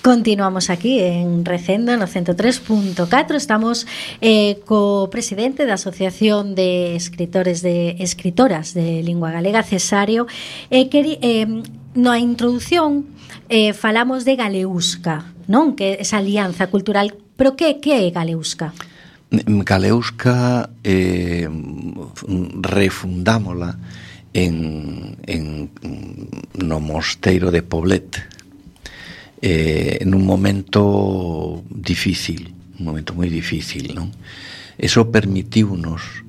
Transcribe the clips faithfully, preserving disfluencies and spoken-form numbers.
Continuamos aquí en Recendo no ciento tres punto catro. Estamos eh, co presidente da Asociación de Escritores de Escritoras de Lingua Galega, Cesario. eh, que, eh, Na introdución eh, falamos de Galeusca, non? Que esa alianza cultural. Pero que, que é Galeusca? Galeusca eh, refundámola en, en no mosteiro de Poblet, eh, en un momento difícil, un momento moi difícil, non? Eso permitiunos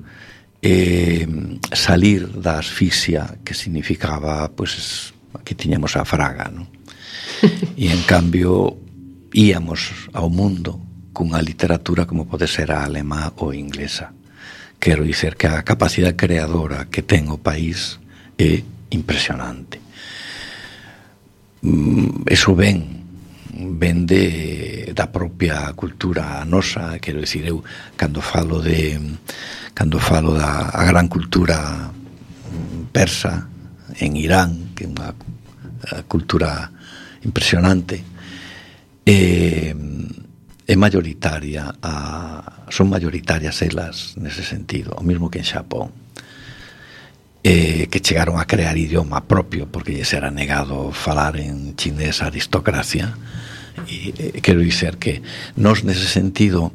eh, salir da asfixia que significaba, pues, aquí tiñamos a fraga, non? E en cambio íamos ao mundo cunha literatura como pode ser a alemá ou inglesa. Quero dizer que a capacidade creadora que ten o país é impresionante. Eso ven ven de, da propia cultura nosa. Quero dicir, eu cando falo de cando falo da a gran cultura persa en Irán, que é unha cultura impresionante, eh, é mayoritaria a, son mayoritarias elas nese sentido, o mesmo que en Xapón, eh, que chegaron a crear idioma propio porque lles era negado falar en chinés a aristocracia. E eh, quero dizer que nos nese sentido,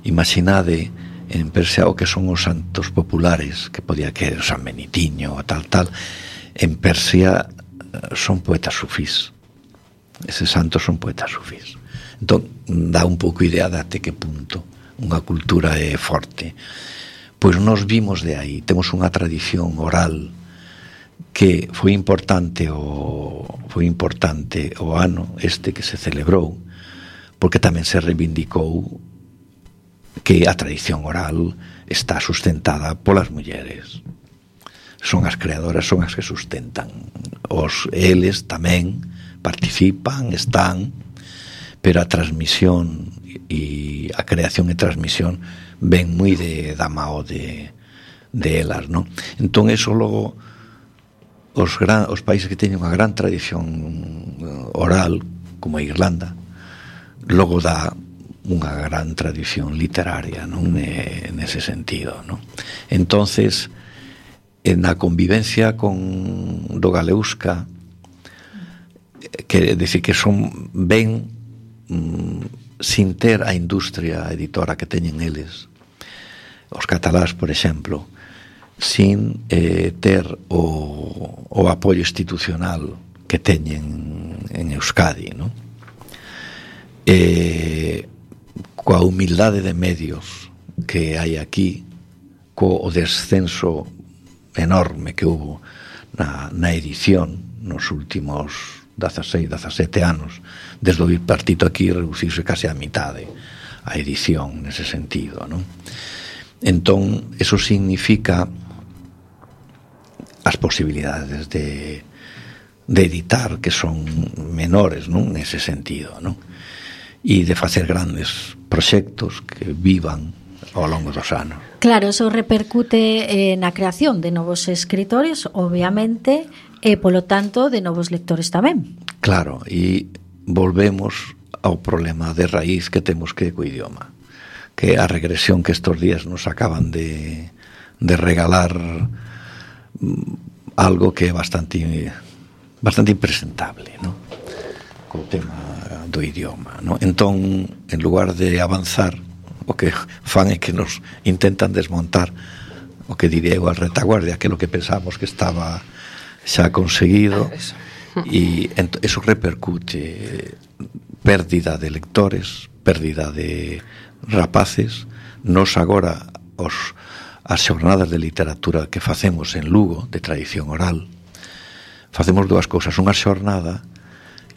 imaginade en Persia o que son os santos populares, que podía que o San Benitiño o tal tal, en Persia son poetas sufís. Eses santos son poetas sufís. Entón, dá un pouco idea de até que punto unha cultura é forte. Pois nos vimos de aí, temos unha tradición oral que foi importante o foi importante o ano este que se celebrou, porque tamén se reivindicou que a tradición oral está sustentada polas mulleres. Son as creadoras, son as que sustentan. Os eles tamén participan, están, pero a transmisión e a creación e transmisión ven moi de da mao de, de elas, non? Entón, eso logo os, gran, os países que teñen unha gran tradición oral, como a Irlanda, logo dá unha gran tradición literaria, non? E, nese sentido, non? Entonces, na convivencia con do Galeusca, que decir que son ben mm, sin ter a industria editora que teñen eles, os catalás, por exemplo, sin eh, ter o, o apoio institucional que teñen en Euskadi, non? Eh, coa humildade de medios que hai aquí, co o descenso enorme que hubo na, na edición nos últimos dezasseis, dezasete anos, desde o bipartito aquí reduciuse case a mitade a edición nese sentido, non? Entón, eso significa as posibilidades de, de editar, que son menores, non? Nese sentido, non? E de facer grandes proxectos que vivan ao longo dos anos. Claro, eso repercute eh, na creación de novos escritores, obviamente, e polo tanto de novos lectores tamén. Claro, e volvemos ao problema de raíz que temos que co idioma, que a regresión que estos días nos acaban de, de regalar algo que é bastante bastante impresentable, ¿no? Co tema do idioma, ¿no? Entón, en lugar de avanzar, o que fan é que nos intentan desmontar o que diría eu a retaguardia, que é o que pensamos que estaba xa conseguido, e eso repercute pérdida de lectores, pérdida de rapaces. Nos agora os, as xornadas de literatura que facemos en Lugo, de tradición oral, facemos dúas cousas. Unha xornada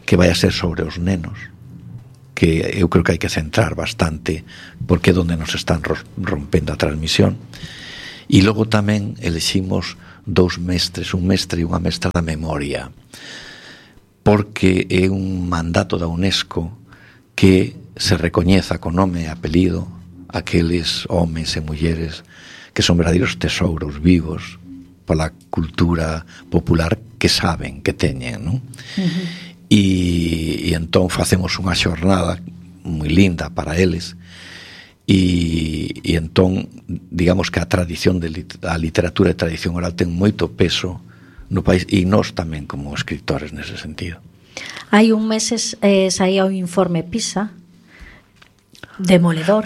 que vai a ser sobre os nenos, que eu creo que hai que centrar bastante, porque é onde nos están rompendo a transmisión. E logo tamén eleximos dous mestres, un mestre e unha mestra da memoria, porque é un mandato da UNESCO que se recoñeza con nome e apelido aqueles homes e mulleres que son verdadeiros tesouros vivos pola cultura popular que saben que teñen, non? Uh-huh. E, e e entón facemos unha xornada moi linda para eles, e, e entón digamos que a tradición de lit- a literatura e tradición oral ten moito peso no país, e nós tamén como escritores nese sentido. Hai un meses eh, saía o informe PISA demoledor.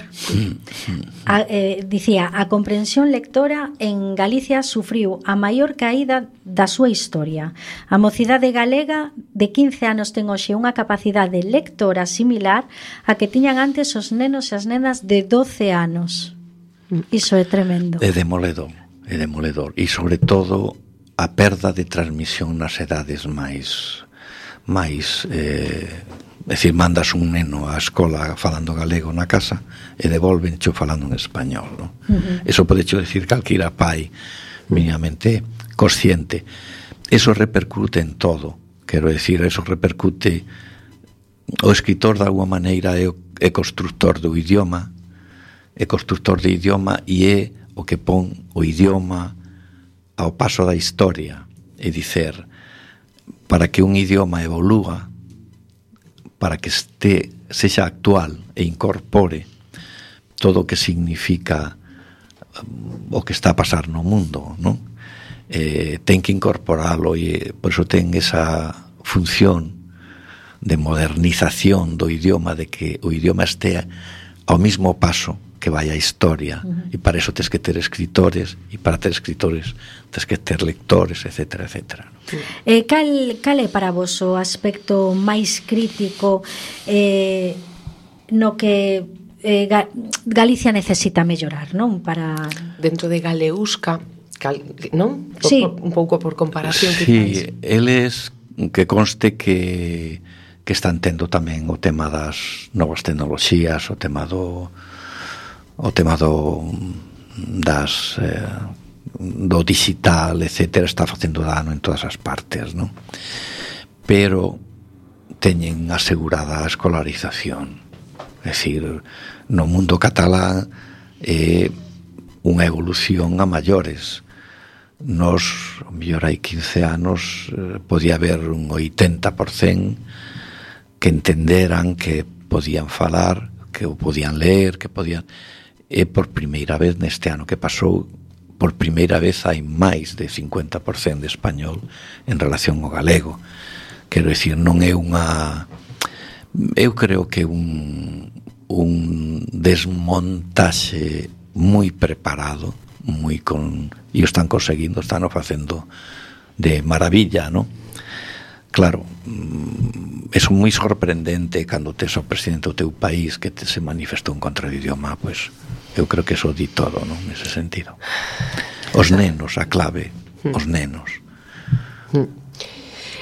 A, eh, dicía, a comprensión lectora en Galicia sufriu a maior caída da súa historia. A mocidade galega de quince anos ten hoxe unha capacidade lectora similar a que tiñan antes os nenos e as nenas de doce anos. Iso é tremendo. É demoledor, é demoledor. E sobre todo a perda de transmisión nas edades máis máis eh, é dicir, mandas un neno á escola falando galego na casa e devolvencho falando en español, no? Uh-huh. Eso podecho decir calquera pai minimamente consciente. Eso repercute en todo, quero decir, eso repercute, o escritor de alguma maneira é, é constructor do idioma, é constructor de idioma e é o que pon o idioma ao paso da historia, é dicer, para que un idioma evolúa, para que este sexa actual e incorpore todo o que significa o que está a pasar no mundo, non? Eh, ten que incorporalo, e por eso ten esa función de modernización do idioma, de que o idioma estea ao mismo paso que vai a historia. Uh-huh. E para eso tens que ter escritores, e para ter escritores tens que ter lectores, etcétera, etcétera. Eh, cal, cal é para vos o aspecto máis crítico eh, no que eh, Ga- Galicia necesita mellorar, non? Para... Dentro de Galeusca, cal, non? Por, Sí. por, un pouco por comparación. Sí, eles que conste que que están tendo tamén o tema das novas tecnoloxías, o tema do o tema do das eh, do digital, etcétera, está facendo dano en todas as partes, non? Pero teñen asegurada a escolarización. É dicir, no mundo catalán é unha evolución a maiores. Nos, o mellor hai quince anos, eh, podía haber un oitenta por cento que entenderan, que podían falar, que o podían ler, que podían... É por primeira vez neste ano que pasou, por primeira vez hai máis de cincuenta por cento de español en relación ao galego. Quero dicir, non é unha... Eu creo que un, un desmontaxe moi preparado, moi con... e o están conseguindo, están o facendo de maravilla, non? Claro, é moi sorprendente cando tes o presidente do teu país que te se manifestou en contra do idioma, pois eu creo que eso di todo, non? Nese sentido. Os nenos, a clave, os nenos.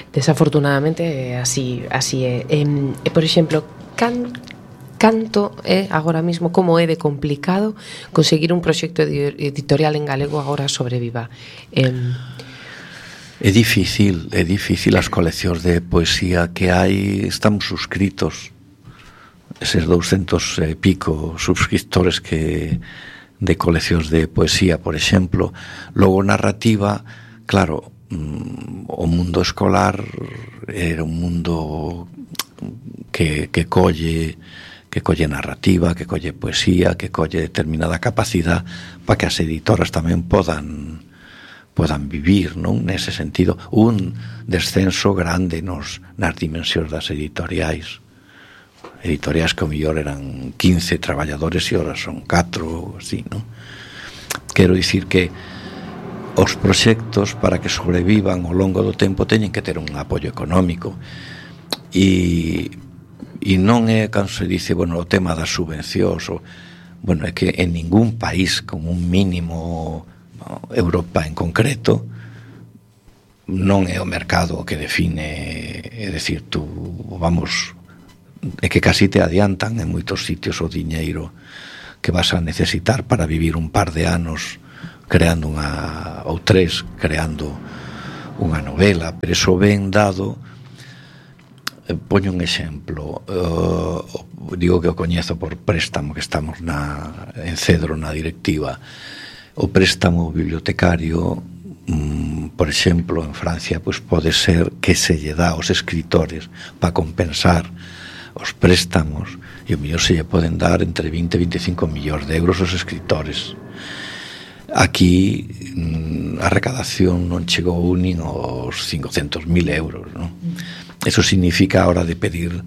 Desafortunadamente así así é. E, e por exemplo, can canto é agora mismo, como é de complicado conseguir un proxecto editorial en galego agora sobreviva. Eh, É difícil, é difícil. As coleccións de poesía que hai, estamos suscritos, eses douscentos e pico subscriptores que de coleccións de poesía, por exemplo. Logo narrativa, claro, o mundo escolar era un mundo que, que colle que colle narrativa, que colle poesía, que colle determinada capacidade para que as editoras tamén podan podan vivir, non? Nese sentido, un descenso grande nos nas dimensións das editoriais. Editoriais que o mellor eran quince traballadores e ahora son catro, así, non? Quero dicir que os proxectos, para que sobrevivan ao longo do tempo, teñen que ter un apoio económico, e e non é, cando se dice, bueno, o tema das subvencións, o, bueno, é que en ningún país con un mínimo, Europa en concreto, non é o mercado o que define, é dicir, tú, vamos, é que casi te adiantan en moitos sitios o diñeiro que vas a necesitar para vivir un par de anos creando unha, ou tres, creando unha novela, pero iso ben dado. Poño un exemplo, uh, digo que o coñezo por préstamo, que estamos na, en Cedro na directiva. O préstamo bibliotecario mm, por exemplo, en Francia, pois pode ser que se lle dá aos escritores para compensar os préstamos, e o mellor se lle poden dar entre vinte e veinticinco millóns de euros aos escritores. Aquí a recadación non chegou nin aos cincocentos mil euros, non? Eso significa a hora de pedir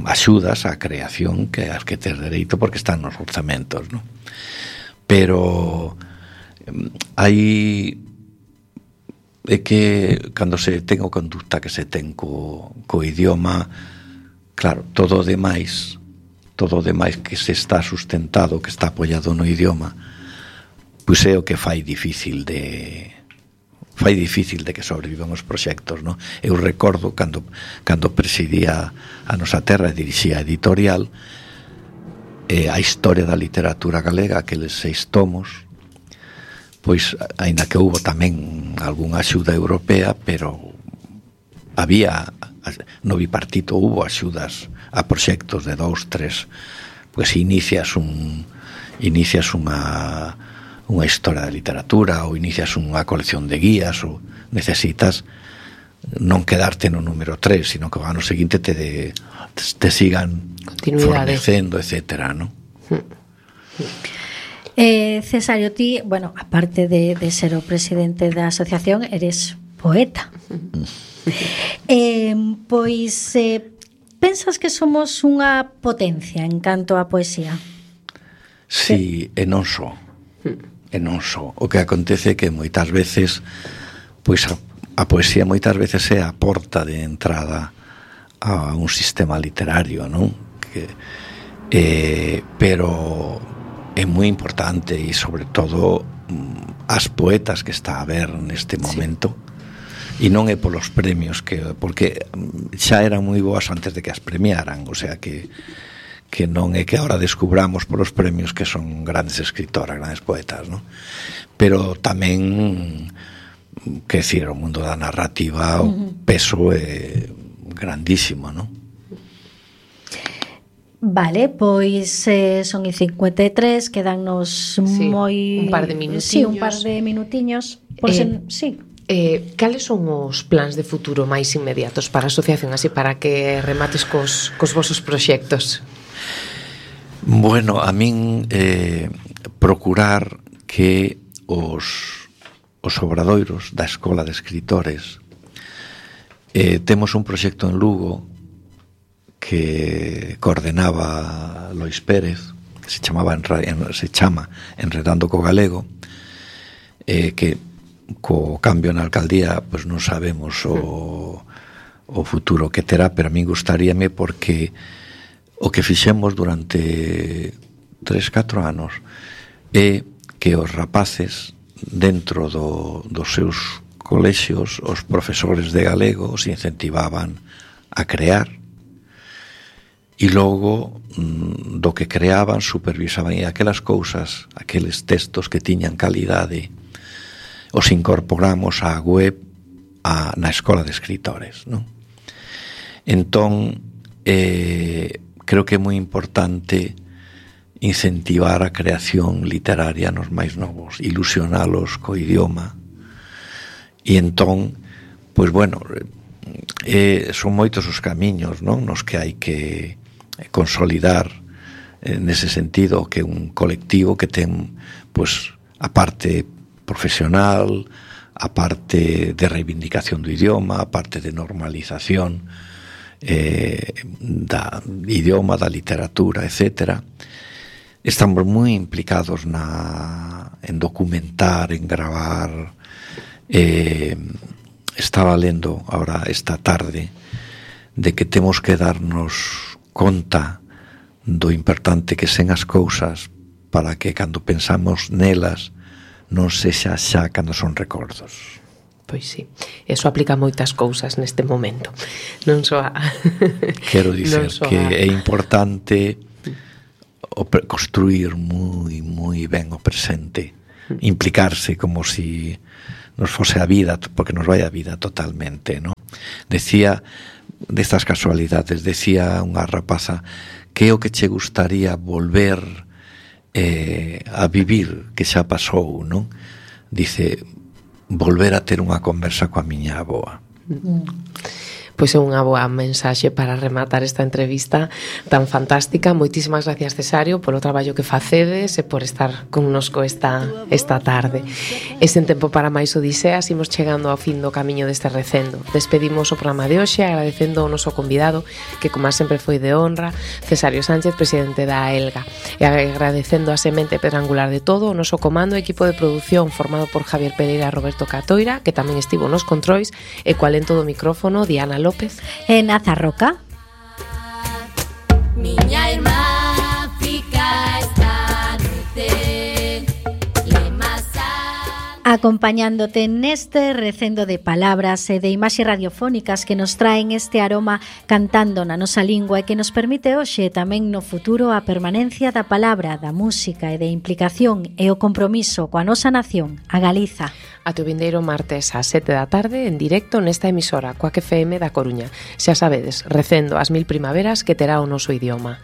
axudas á creación que as que tes dereito porque están nos orzamentos, non? Pero hai é que cando se ten o conducta que se ten co, co idioma, claro, todo o demais todo o demais que se está sustentado, que está apoiado no idioma, pois é o que fai difícil de fai difícil de que sobrevivan os proxectos, non? Eu recordo cando cando presidía a nosa terra e dirixía a editorial, eh, a historia da literatura galega, aqueles seis tomos, pois aínda que houbo tamén algunha axuda europea, pero había no bipartito houbo axudas a proxectos de dous, tres, pois inicias un inicias unha unha historia da literatura ou inicias unha colección de guías ou necesitas non quedarte no número tres, sino que o ano seguinte te, de, te sigan fornecendo, etcétera, ¿no? Eh, Cesario, ti, bueno, aparte de, de ser o presidente da asociación, eres poeta. eh, pois eh, pensas que somos unha potencia en canto á poesía? Sí, e non só. E non só. O que acontece é que moitas veces pois a, a poesía moitas veces é a porta de entrada a un sistema literario, non? Que, eh, pero é moi importante e sobre todo as poetas que está a ver neste momento, sí. E non é polos premios que, porque xa eran moi boas antes de que as premiaran, o sea que que non é que agora descubramos polos premios que son grandes escritoras, grandes poetas, ¿no? Pero tamén, que decir, o mundo da narrativa, o peso é grandísimo, ¿no? Vale, pois eh, son e cincuenta e tres, quedannos sí, moi un par de minutiños. Sí, un par de minutiños. Por eh, sen, sí. Eh, cales son os plans de futuro máis inmediatos para a asociación, así para que remates cos, cos vosos proxectos? Bueno, a min eh, procurar que os, os obradoiros da Escola de Escritores eh, temos un proxecto en Lugo que coordenaba Lois Pérez, que se chamaba se chama Enredando co Galego, eh, que co cambio na alcaldía pois non sabemos o, o futuro que terá, pero a min gustaríame porque o que fixemos durante tres, catro anos é que os rapaces dentro do, dos seus colexios, os profesores de galego os incentivaban a crear e logo do que creaban supervisaban e aquelas cousas, aqueles textos que tiñan calidade os incorporamos á web a, na Escola de Escritores, non? Entón eh, creo que é moi importante incentivar a creación literaria nos máis novos, ilusionalos co idioma e entón, pois bueno, eh, son moitos os camiños, non? Nos que hai que consolidar eh, nese sentido que un colectivo que ten pois a parte profesional, a parte de reivindicación do idioma, a parte de normalización eh, da idioma, da literatura, etcétera. Estamos moi implicados na, en documentar, en gravar. Eh, estaba lendo ahora esta tarde de que temos que darnos conta do importante que sen as cousas para que cando pensamos nelas non sexa xa cando son recordos. Pois sí, eso aplica moitas cousas neste momento. Non só a... Quero dizer que a... é importante o pre- construir moi, moi ben o presente, implicarse como si nos fose a vida, porque nos vai a vida totalmente, ¿no? Decía, destas casualidades, decía unha rapaza que é o que che gustaría volver eh, a vivir, que xa pasou, non? Dice, volver a ter unha conversa coa miña avoa. Pois é unha boa mensaxe para rematar esta entrevista tan fantástica. Moitísimas gracias, Cesario, polo traballo que facedes e por estar connosco esta, esta tarde. E sen tempo para máis odiseas, imos chegando ao fin do camiño deste recendo. Despedimos o programa de hoxe agradecendo ao noso convidado, que como sempre foi de honra, Cesario Sánchez, presidente da AELGA, e agradecendo a semente pedrangular de todo o noso comando e equipo de produción formado por Javier Pereira e Roberto Catoira, que tamén estivo nos controis, e coa lento do micrófono Diana López e Nazarroca. Miña irmá fica esta noite acompañándote neste recendo de palabras e de imaxes radiofónicas que nos traen este aroma cantando na nosa lingua e que nos permite hoxe tamén no futuro a permanencia da palabra, da música e de implicación e o compromiso coa nosa nación, a Galiza. Ate o vindeiro martes ás sete da tarde en directo nesta emisora Coac F M da Coruña. Xa sabedes, recendo as mil primaveras que terá o noso idioma.